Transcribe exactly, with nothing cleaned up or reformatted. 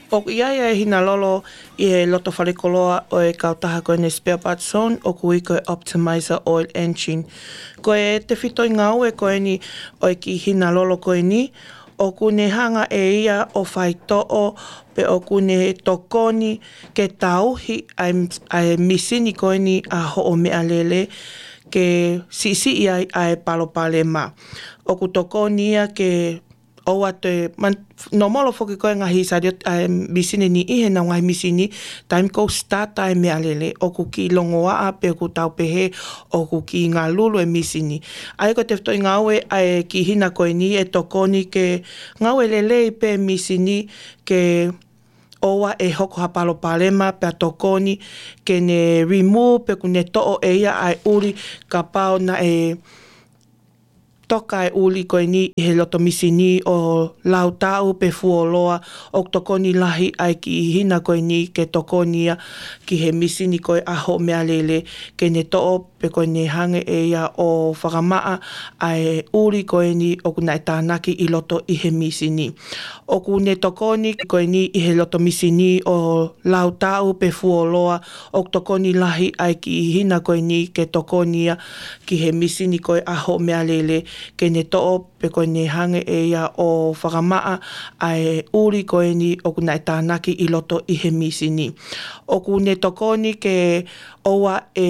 ʻOku ʻi ai ʻa e hina lolo ʻi he loto falekoloa ʻo e kautaha ko eni spare parts zone, ʻoku ui ko e optimizer oil engine. Ko e tefitoʻi ngāue ko eni ʻo e kiʻi hina lolo ko eni, ʻoku ne hanga ʻe ia ʻo faitoʻo, pe ʻoku ne tokoni ke tauhi ʻa e, ʻa e misini ko eni ʻa hoʻo meʻalele ke siʻisiʻi ai ʻa e palopalema. ʻOku tokoni ia ke ʻoua toe, man-, nōmolo foki ko e ngaahi sariot-, ʻa e misini ni ʻi he nau ngaahi misini, taimi ʻoku start ʻa e meʻalele, ʻoku kiʻi longoaʻa pe ʻoku tau pehē, ʻoku kiʻi ngalulu e misini. ʻA ia ko e tefitoʻi ngāue ʻa e kiʻi hina ko eni ʻe tokoni ke ngāue lelei pē misini ke ʻoua ʻe hoko ha palopalema pea tokoni ke ne remove pe ʻoku ne toʻo ʻe ia ʻa e ʻuli kapau naʻe toka e ʻuli ko eni ʻi he loto misini ʻo lautaʻu pe fuoloa, ʻoku tokoni lahi ʻa e kiʻi hina ko eni ke tokoni ia ki he misini ko e ʻa hoʻo meʻalele ke ne toʻo pe ko eni hanga ʻe ia ʻo fakamaʻa ʻa e ʻuli ko eni ʻoku naʻe tānaki ʻi loto ʻi he misini. ʻOku ne tokoni ko eni ʻi he loto misini ʻo lautaʻu pe fuoloa, ʻoku tokoni lahi ʻa e kiʻi hina ko eni ke tokoni ia ki he misini ko e ʻa hoʻo meʻalele ke ne toʻo pe ko eni hanga ʻe ia ʻo fakamaʻa ʻa e ʻuli ko eni ʻoku naʻe tānaki ʻi loto ʻi he misini. ʻOku ne tokoni ke ʻoua ʻe